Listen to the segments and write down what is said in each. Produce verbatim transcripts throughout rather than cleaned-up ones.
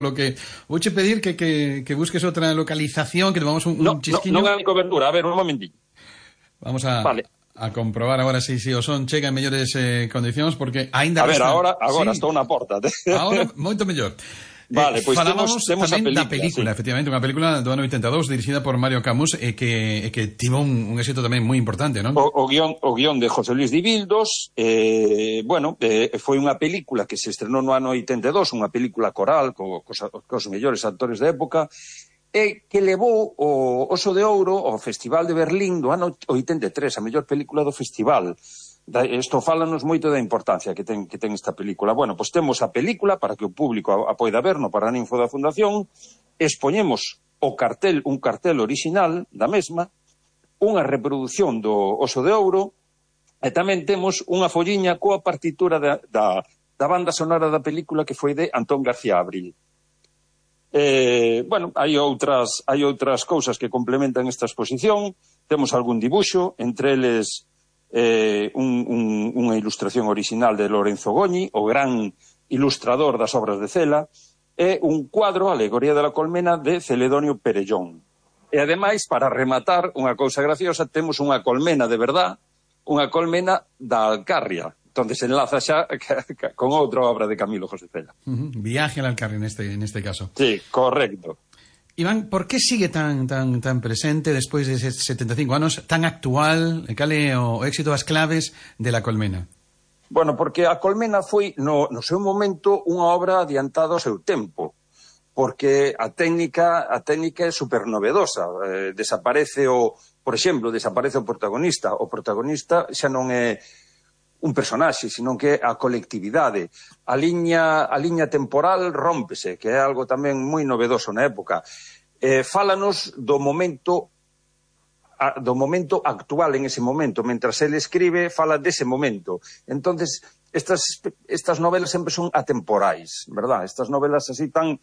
Lo que vouche pedir que, que, que busques outra localización, que tomamos un, no, un chisquiño. Non, non hai cobertura, a ver, un momentillo. Vamos a, vale. a comprobar agora se si, si o son chega en mellores eh, condicións, porque aínda A ver, resta... agora, agora sí. estou na porta. Agora, moito mellor. Vale, eh, pois falábamos temos, temos tamén a película, da película, sí. efectivamente, unha película do ano oitenta e dous dirixida por Mario Camus e que, e que tivo un, un éxito tamén moi importante, non? O, o, guión, o guión de José Luis Dibildos, eh, bueno, eh, foi unha película que se estrenou no ano oitenta e dous, unha película coral co, cos, cos mellores actores da época, e que levou o Oso de Ouro ao Festival de Berlín do ano oitenta e tres, a mellor película do festival. Isto fálanos moito da importancia que ten, que ten esta película. Bueno, pois temos a película para que o público a, a poida ver no Paraninfo da Fundación, expoñemos o cartel, un cartel orixinal da mesma, unha reproducción do Oso de Ouro, e tamén temos unha folliña coa partitura da, da, da banda sonora da película que foi de Antón García Abril. Eh, bueno, hai outras, hai outras cousas que complementan esta exposición, temos algún dibuixo, entre eles eh, un, un, unha ilustración orixinal de Lorenzo Goñi, o gran ilustrador das obras de Cela, e un cuadro, Alegoría de la Colmena, de Celedonio Perellón. E ademais, para rematar, unha cousa graciosa, temos unha colmena de verdad, unha colmena da Alcarria, onde se enlaza xa con outra obra de Camilo José Cela. Uh-huh. Viaje al Alcarria neste, neste caso. Sí, correcto. Iván, por que sigue tan tan tan presente despois de setenta e cinco anos, tan actual, cal é o éxito das claves de La Colmena? Bueno, porque a Colmena foi, no, no seu momento, unha obra adiantada ao seu tempo, porque a técnica a técnica é supernovedosa. Eh, desaparece o, por exemplo, desaparece o protagonista. O protagonista xa non é un personaxe, sino que é a colectividade. A liña, a liña temporal rómpese, que é algo tamén moi novedoso na época. Eh, fálanos do momento a, do momento actual en ese momento. Mentras ele escribe, fala dese momento. Entonces, estas, estas novelas sempre son atemporais, verdad? Estas novelas así tan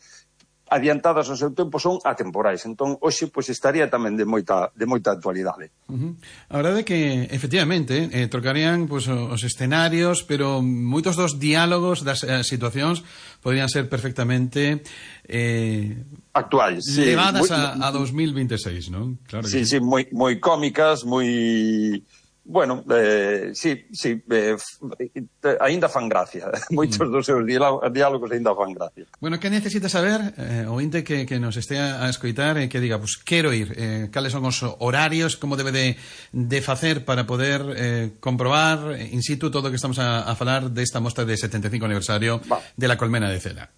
adiantadas ao seu tempo son atemporais. Entón, hoxe, pois, estaría tamén de moita, de moita actualidade. Uh-huh. A verdade é que, efectivamente, eh, trocarían pois, os escenarios, pero moitos dos diálogos das eh, situacións podrían ser perfectamente eh, actuais, sí, levadas muy, a, a dos mil veintiséis, non? Claro sí, que sí, moi, moi cómicas, moi... Bueno, eh, sí, sí, eh, aínda fan gracia. Moitos dos seus diálogos aínda fan gracia. Bueno, que necesita saber eh, o inte que, que nos estea a escoitar e eh, que diga, pues quero ir, eh, cales son os horarios, como debe de, de facer para poder eh, comprobar in situ todo o que estamos a, a falar desta mostra de setenta e cinco aniversario Va. de La Colmena de Cela.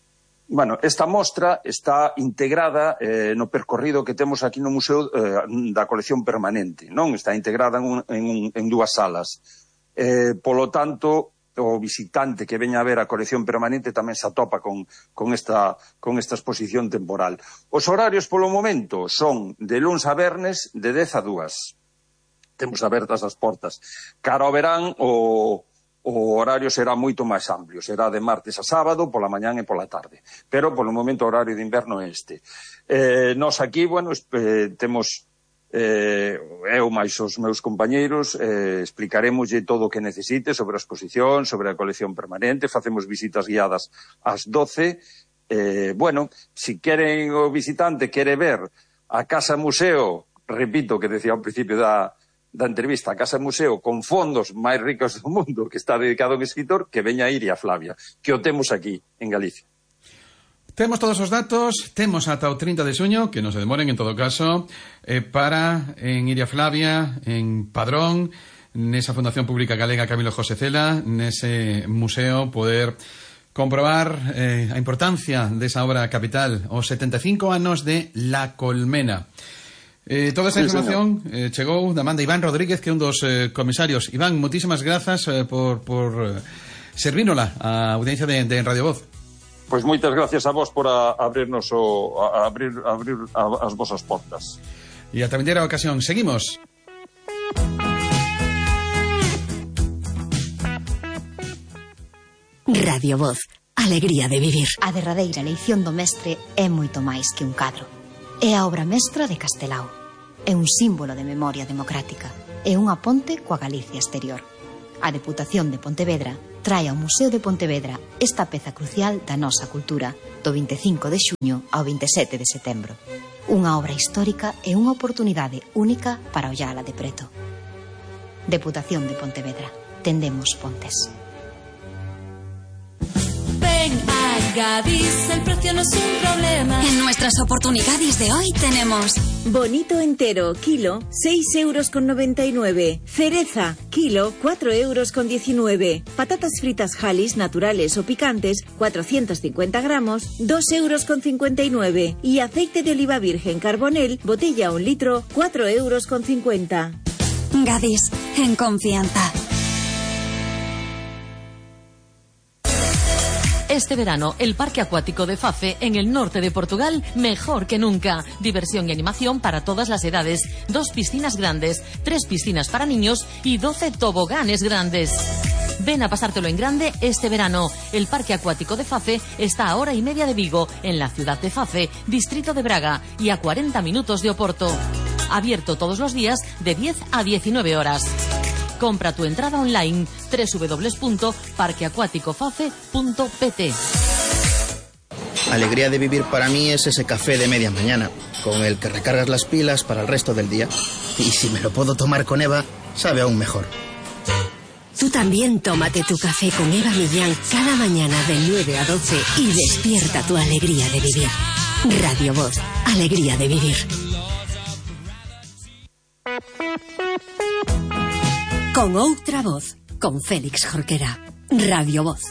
Bueno, esta mostra está integrada eh, no percorrido que temos aquí no Museo eh, da Colección Permanente, non? Está integrada en, un, en, un, en dúas salas. Eh, polo tanto, o visitante que veña a ver a Colección Permanente tamén se atopa con, con, esta, con esta exposición temporal. Os horarios polo momento son de luns a vernes de dez a dúas. Temos abertas as portas. Cara ao verán, o... o horario será moito máis amplio, será de martes a sábado, pola mañán e pola tarde. Pero, polo momento, o horario de inverno é este. Eh, nos aquí, bueno, eh, temos, eh, eu máis os meus compañeiros, eh, explicaremoslle todo o que necesite sobre a exposición, sobre a colección permanente, facemos visitas guiadas ás doce. Eh, bueno, si queren o visitante quere ver a Casa Museo, repito que decía ao principio da da entrevista, a Casa Museo con fondos máis ricos do mundo, que está dedicado a un escritor, que veña a Iria Flavia, que o temos aquí, en Galicia. Temos todos os datos, temos ata o trinta de xuño, que non se demoren en todo caso, eh, para en Iria Flavia, en Padrón, nesa Fundación Pública Galega Camilo José Cela, nese museo, poder comprobar eh, a importancia desa obra capital, os setenta e cinco anos de La Colmena. Eh, toda esa información eh, chegou da man de Iván Rodríguez, que é un dos eh, comisarios. Iván, moitísimas grazas eh, por, por eh, servínola a audiencia de, de Radio Voz. Pois moitas gracias a vos por a, abrirnos o, a, abrir, a abrir a, as vosas portas. E a vindeira ocasión. Seguimos. Radio Voz. Alegría de vivir. A derradeira eleición do mestre é moito máis que un cadro. É a obra mestra de Castelao. É un símbolo de memoria democrática. É unha ponte coa Galicia exterior. A Deputación de Pontevedra trae ao Museo de Pontevedra esta peza crucial da nosa cultura do vinte e cinco de xuño ao vinte e sete de setembro. Unha obra histórica e unha oportunidade única para ollala de preto. Deputación de Pontevedra. Tendemos pontes. Ven a Gadis, el precio no es un problema. En nuestras oportunidades de hoy tenemos bonito entero, kilo, seis euros con noventa y nueve. Cereza, kilo, cuatro euros con diecinueve. Patatas fritas Halis, naturales o picantes, cuatrocientos cincuenta gramos, dos euros con cincuenta y nueve. Y aceite de oliva virgen Carbonel, botella un litro, cuatro euros con cincuenta. Gadis, en confianza. Este verano, el Parque Acuático de Fafe, en el norte de Portugal, mejor que nunca. Diversión y animación para todas las edades. Dos piscinas grandes, tres piscinas para niños y doce toboganes grandes. Ven a pasártelo en grande este verano. El Parque Acuático de Fafe está a hora y media de Vigo, en la ciudad de Fafe, distrito de Braga, y a cuarenta minutos de Oporto. Abierto todos los días de diez a diecinueve horas. Compra tu entrada online doble u doble u doble u punto parque acuático fafe punto p t. Alegría de vivir para mí es ese café de media mañana, con el que recargas las pilas para el resto del día. Y si me lo puedo tomar con Eva, sabe aún mejor. Tú también tómate tu café con Eva Millán cada mañana de nueve a doce y despierta tu alegría de vivir. Radio Voz, alegría de vivir. Con outra voz, con Félix Jorquera. Radio Voz.